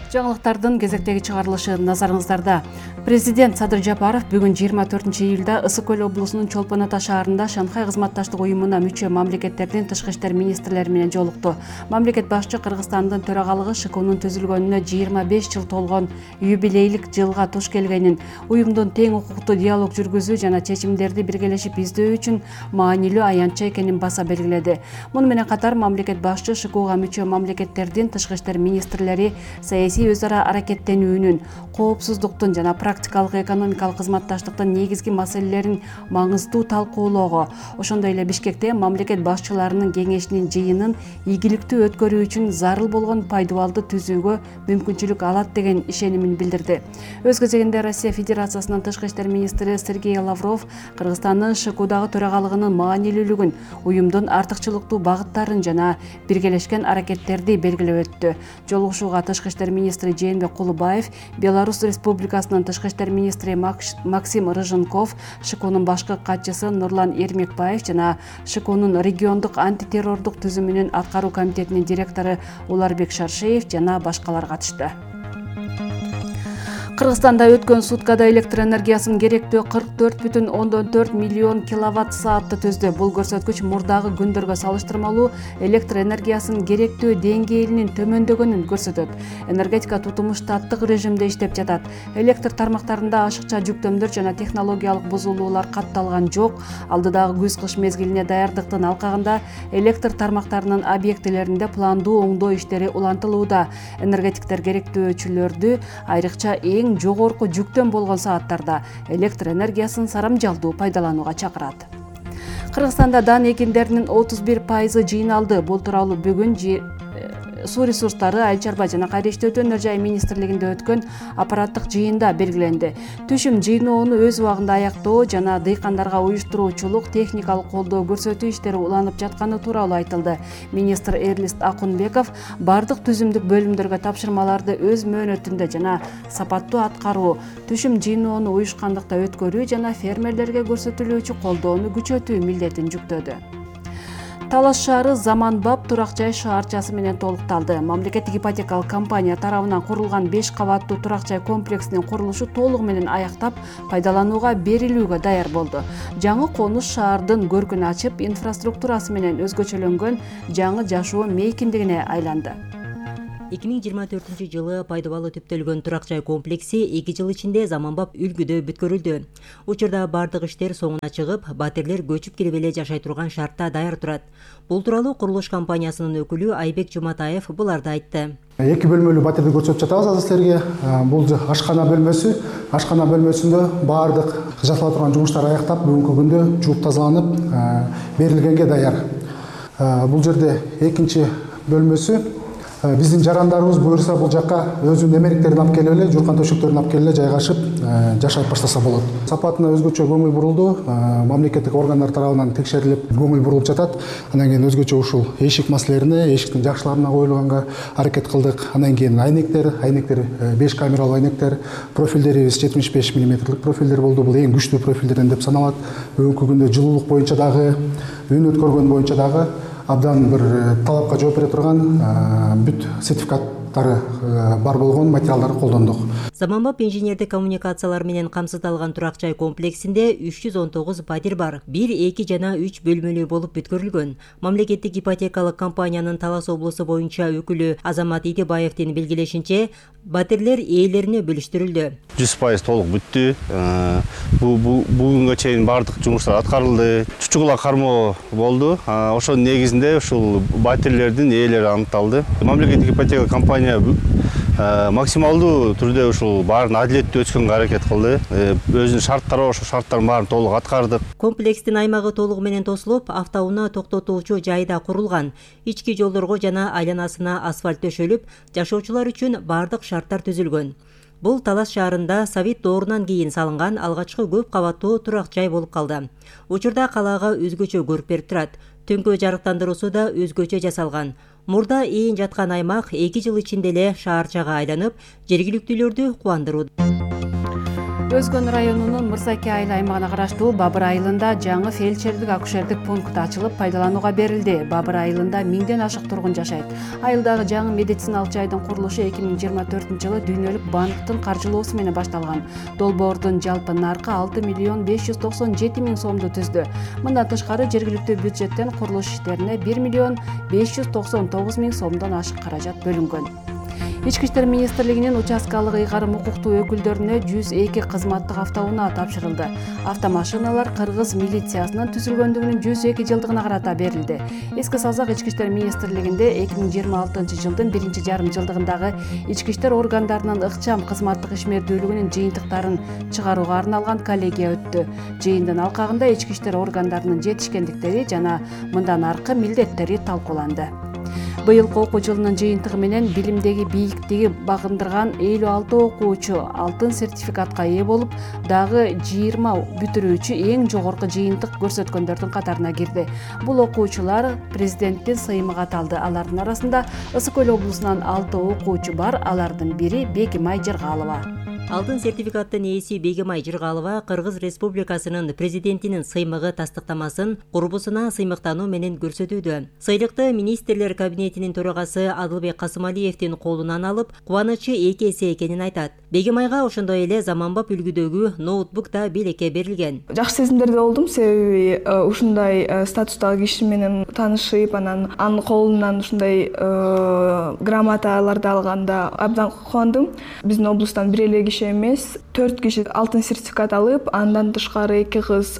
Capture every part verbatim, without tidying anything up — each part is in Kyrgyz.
Жаңылыктардын кезектеги чыгарылышы назарыңыздарда. Президент Садыр Жапаров бүгүн жыйырма төртүнчү июлда Ысык көл облусунун Чолпон Ата шаарында Шанхай кызматташтык уюмуна мүчө мамлекеттердин тышкы иштер министрлери менен жолукту. Мамлекет башчы Кыргызстандын төрагалыгы ШКУнун түзүлгөнүнө жыйырма беш жыл толгон юбилейлик жылга туш келгенин, уюмдун тең укуктуу диалог жүргүзүү жана чечимдерди биргелешип издөө үчүн маанилүү аянтча экенин баса белгиледи. Муну менен катар мамлекет башчы ШКУга мүчө мамлекеттердин тышкы иштер министрлери саясий өз ара аракеттенүүнүн, коопсуздуктун жана практикалык экономикалык кызматташтыктын негизги маселелерин маңыздуу талкуулоого, ошондой эле Бишкекте мамлекет башчыларынын кеңешинин жыйынын ийгиликтүү өткөрүү үчүн зарыл болгон пайдубалды түзүүгө мүмкүнчүлүк алат деген ишенимин билдирди. Өз кезегинде Россия Федерациясынын тышкы иштер министри Сергей Лавров Кыргызстандын ШКУдагы төрагалыгынын маанилүүлүгүн, уюмдун артыкчылыктуу багыттарын жана биргелешкен аракеттерди белгилеп өттү. Жолугушууга тышкы иштер министри Жээнбек Кулубаев, Беларусь Республикасынын тышкы иштер министри Максим Рыженков, ШКУнун башкы катчысы Нурлан Эрмекбаев жана ШКУнун региондук антитеррордук түзүмүнүн аткаруу комитетинин директору Уларбек Шаршеев жана башкалар катышты. Кыргызстанда өткөн суткада электр энергиясынын керектөө кырк төрт бүтүн ондон төрт миллион киловатт саатты түздү. Бул көрсөткүч мурдагы күндөргө салыштырмалуу электр энергиясынын керектөө деңгээлинин төмөндөгөнүн көрсөтөт. Энергетика тутуму штаттык режимде иштеп жатат. Электр тармактарында ашыкча жүктөмдөр жана технологиялык бузулуулар катталган жок. Алдыдагы күз-кыш мезгилине даярдыктын алкагында электр тармактарынын объектилеринде пландуу оңдоо иштери улантылууда. Энергетиктер керектөөчүлөрдү айрыкча эң жогорку жүктөм болгон сааттарда электр энергиясын сарамжалдуу пайдаланууга чакырат. Кыргызстанда дан экиндеринин отуз бир пайызы жыйналды. Бул тууралуу бүгүн суу ресурстары, айыл чарба жана кайра иштөөтүү өнөр жай министрлигинде өткөн аппараттык жыйында белгиленди. Түшүм жыйноону өз убагында аяктоо жана дыйкандарга уюштуруучулук, техникалык колдоо көрсөтүү иштери уланып жатканы тууралуу айтылды. Министр Эрлист Акунбеков бардык түзүмдүк бөлүмдөргө тапшырмаларды өз мөөнөтүндө жана сапаттуу аткаруу, түшүм жыйноону уюшкандыкта өткөрүү жана фермерлерге көрсөтүлүүчү колдоону күчөтүү милдетин жүктөдү. Талас шаары заманбап турак жай шаарчасы менен толукталды. Мамлекеттик ипотекалык компания тарабынан курулган беш кабаттуу турак жай комплексинин курулушу толугу менен аяктап, пайдаланууга берилүүгө даяр болду. Жаңы конуш шаардын көркүн ачып, инфраструктурасы менен өзгөчөлөнгөн жаңы жашоо мейкиндигине айланды. эки миң жыйырма төртүнчү жылы пайдубалы түптөлгөн турак жай комплекси эки жыл ичинде заманбап үлгүдө бүткөрүлдү. Учурда бардык иштер соңуна чыгып, батирлер көчүп кирип эле жашай турган шартта даяр турат. Бул тууралуу курулуш компаниясынын өкүлү Айбек Жуматаев буларды айтты. Эки бөлмөлүү батирди көрсөтүп жатабыз азыр силерге. Бул ашкана бөлмөсү. Ашкана бөлмөсүндө бардык жасала турган жумуштар аяктап, бүгүнкү күндө жууп тазаланып, берилгенге даяр. Бул жерде экинчи бөлмөсү. Биздин жарандарыбыз буюрса бул жакка өзүнүн эмеректерин алып келип эле, журкан төшөктөрүн алып келип эле жайгашып, жашап баштаса болот. Сапатына өзгөчө көңүл бурулду. Мамлекеттик органдар тарабынан текшерилип, көңүл бурулуп жатат. Андан кийин өзгөчө ушул эшик маселелерине, эшиктин жакшыларына коюлганга аракет кылдык. Андан кийин айнектер, айнектер беш камералуу айнектер, профилдерибиз жетимиш беш миллиметрлик профилдер болду. Бул эң күчтүү профилдерден деп саналат. Бүгүнкү күндө жылуулук боюнча дагы, үн өткөргөн боюнча дагы абдан бир талапка жооп бере турган бүт сертификаттары бар болгон материалдарды колдондук. Заманбап инженердик коммуникациялар менен камсыздалган турак жай комплексинде үч жүз он тогуз батир бар. бир, эки жана үч бөлмөлүү болуп бүткөрүлгөн. Мамлекеттик ипотекалык компаниянын Талас облусу боюнча өкүлү Азамат Идибаевдин белгилешинче, батирлер ээлерине бөлүштүрүлдү. жүз пайыз толук бүттү. Бүгүнгө чейин бардык жумуштар аткарылды. Чучугула кармоо болду. Ошонун негизинде ушул батирлердин ээлери аныкталды. Мамлекеттик ипотека компания максималдуу түрдө ушул баарын адилеттүү өткөнгө аракет кылды. Өзүнүн шарттары бар, ошол шарттардын баарын толук аткардык. Комплекстин аймагы толугу менен тосулуп, автоунаа токтотуучу жайда курулган. Ички жолдорго жана айланасына асфальт төшөлүп, жашоочулар үчүн бардык шарттар түзүлгөн. Бул Талас шаарында Совет доорунан кийин салынган алгачкы көп кабаттуу турак жай болуп калды. Учурда калаага өзгөчө көрүп берип турат. Түнкү жарыктандыруусу да өзгөчө жасалган. Мурда ээн жаткан аймак эки жыл ичинде эле шаарчага айланып, жергиликтүүлөрдү кубандыруу. Өзгөн районунун Мырзаке айыл аймагына караштуу Бабыр айылында жаңы фельдшердик акушердик пункт ачылып пайдаланууга берилди. Бабыр айылында миңден ашык тургун жашайт. Айылдагы жаңы медициналык жайдын курулушу эки миң жыйырма төртүнчү жылы дүйнөлүк банктын каржылоосу менен башталган. Долбоордун жалпы наркы алты миллион беш жүз токсон жети миң сомду түздү. Мындан тышкары жергиликтүү бюджеттен курулуш иштерине бир миллион беш жүз токсон тогуз миң сомдон ашык каражат бөлүнгөн. Ички иштер министрлигинин участкалык ыйгарым укуктуу өкүлдөрүнө жүз эки кызматтык автоунаа тапшырылды. Автомашиналар кыргыз милициясынын түзүлгөндүгүнүн жүз эки жылдыгына карата берилди. Эске салсак, ички иштер министрлигинде эки миң жыйырма алтынчы жылдын биринчи жарым жылдыгындагы ички иштер органдарынын ыкчам кызматтык ишмердүүлүгүнүн жыйынтыктарын чыгарууга арналган коллегия өттү. Жыйындын алкагында ички иштер органдарынын жетишкендиктери жана мындан аркы милдеттери талкууланды. Быйылкы окуу жылынын жыйынтыгы менен билимдеги бийиктиги багындырган элүү алты окуучу алтын сертификатка ээ болуп, дагы жыйырма бүтүрүүчү эң жогорку жыйынтык көрсөткөндөрдүн катарына кирди. Бул окуучулар президенттин сыймыгы аталды. Алардын арасында Ысык Көл облусунан алты окуучу бар. Алардын бири Бегимай Жыргалова. Алтын сертификаттын ээси Бегимай Жыргалова Кыргыз Республикасынын президентинин сыймыгы тастыктамасын курбусуна сыймыктануу менен көрсөтүүдө. Сыйлыкты министрлер кабинетинин төрагасы Адылбек Касымалиевдин колунан алып, кубанычы эки эсе экенин айтат. Бегимайга ошондой эле заманбап үлгүдөгү ноутбук да белекке берилген. Жакшы сезимдерде болдум, себеби ушундай статустагы киши менен таанышып, анан анын колунан ушундай грамоталарды алганда абдан кубандым. Биздин облустан бир эле киши эмес, төрт киши алтын сертификат алып, андан тышкары эки кыз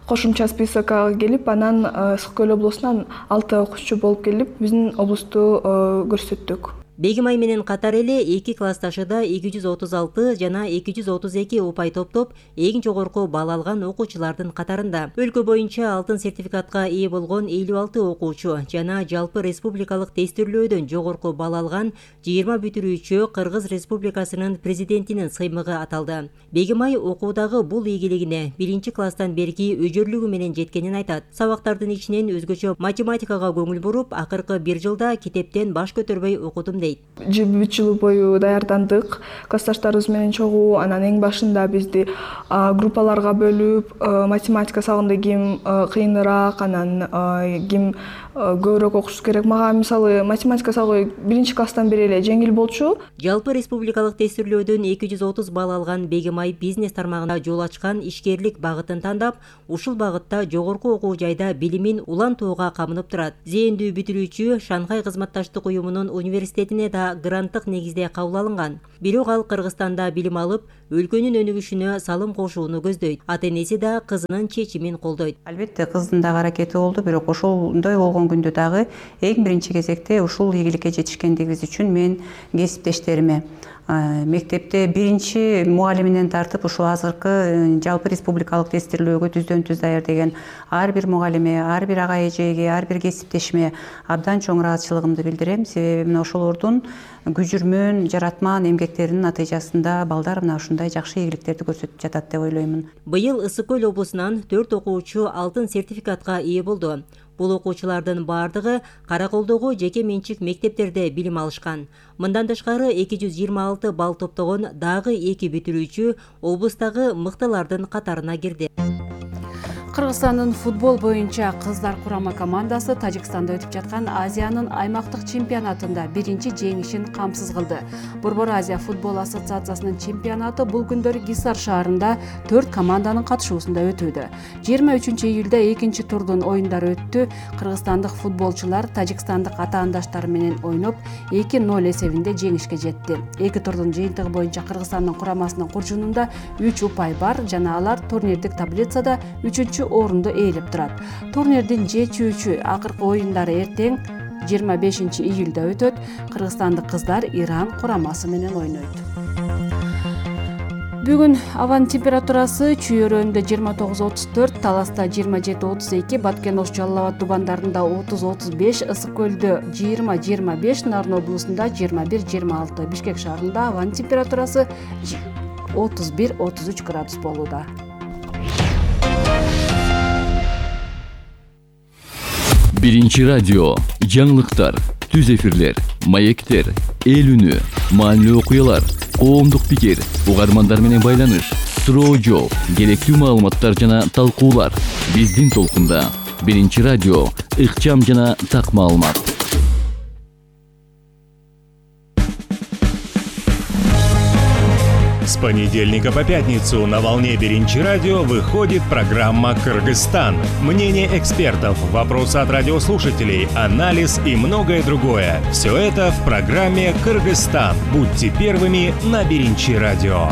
кошумча списокко келип, анан Ысык Көл облусунан алты окуучу болуп келип, биздин облусту көрсөттүк. Бегимай менен катар эле эки классташы да эки жүз отуз алты жана эки жүз отуз эки упай топтоп, эң жогорку балл алган окуучулардын катарында. Өлкө боюнча алтын сертификатка ээ болгон элүү алты окуучу жана жалпы республикалык тестирлөөдөн жогорку балл алган жыйырма бүтүрүүчү Кыргыз Республикасынын президентинин сыймыгы аталды. Бегимай окуудагы бул ийгилигине биринчи класстан берки өжөрлүгү менен жеткенин айтат. Сабактардын ичинен өзгөчө математикага көңүл буруп, акыркы бир жылда китептен баш көтөрбөй окудум. жыйырма үч жыл бою даярдандык, классташтарыбыз менен чогуу. Анан эң башында бизди группаларга бөлүп, математика сабагында ким кыйыныраак, анан ким көбүрөөк окуш керек. Мага мисалы математика сабагы биринчи класстан бери эле жеңил болчу. Жалпы республикалык тестирлөөдөн эки жүз отуз балл алган Бегимай бизнес тармагында жол ачкан ишкерлик багытын тандап, ушул багытта жогорку окуу жайда билимин улантууга камынып турат. Зээндүү бүтүрүүчү Шанхай кызматташтык уюмунун университетине да гранттык негизде кабыл алынган. Бирок ал Кыргызстанда билим алып, өлкөнүн өнүгүшүнө салым кошууну көздөйт. Ата-энеси да кызынын чечимин колдойт. Албетте кыздын дагы аракети болду, бирок ошондой болгон күндө дагы эң биринчи кезекте ушул ийгиликке жетишкендигибиз үчүн мен кесиптештериме, мектепте биринчи мугалиминен тартып ушул азыркы жалпы республикалык тестирлөөгө түздөн түз даяр деген ар бир мугалиме, ар бир ага эжеге, ар бир кесиптешиме абдан чоң ыраазычылыгымды билдирем. Себеби мына ошолордун күжүрмөн, жаратман эмгектеринин натыйжасында балдар мына ушундай жакшы ийгиликтерди көрсөтүп жатат деп ойлоймун. Быйыл Ысык Көл облусунан төрт окуучу алтын сертификатка ээ болду. Бул окуучулардын бардыгы Караколдогу жеке менчик мектептерде билим алышкан. Мындан тышкары эки жүз жыйырма алты балл топтогон дагы эки бүтүрүүчү облустагы мыктылардын катарына кирди. Кыргызстандын футбол боюнча кыздар курама командасы Тажикстанда өтүп жаткан Азиянын аймактык чемпионатында биринчи жеңишин камсыз кылды. Борбор Азия футбол ассоциациясынын чемпионаты бул күндөрү Гисар шаарында төрт команданын катышуусунда өтүүдө. жыйырма үчүнчү июлда экинчи турдун оюндары өттү. Кыргызстандык футболчулар тажикстандык атаандаштары менен ойноп эки ноль эсебинде жеңишке жетти. Эки турдун жыйынтыгы боюнча Кыргызстандын курамасынын куржунунда үч упай бар жана алар турнирлик таблицада үчүнчү орунду ээлеп турат. Турнирдин чечүүчү акыркы оюндары эртең жыйырма бешинчи июлда өтөт. Кыргызстандык кыздар Иран курамасы менен ойнойт. Бүгүн абанын температурасы Чүй өрөөнүндө жыйырма тогуз отуз төрт, Таласта жыйырма жети отуз эки, Баткен Ош Жалал Абад тубандарында отуз отуз беш, Ысык Көлдө жыйырма жыйырма беш, Нарын облусунда жыйырма бир жыйырма алты, Бишкек шаарында абанын температурасы отуз бир отуз үч градус болууда. Биринчи радио жаңылыктар. түз эфирлер, маектер, эл үнү, маанилүү окуялар, коомдук пикир, угармандар менен байланыш, суроо жооп, керектүү маалыматтар жана талкуулар. Биздин толкунда биринчи радио, ыкчам жана так маалымат. С понедельника по пятницу на волне Биринчи радио выходит программа «Кыргызстан». Мнение экспертов, вопросы от радиослушателей, анализ и многое другое. Все это в программе «Кыргызстан». Будьте первыми на Биринчи радио.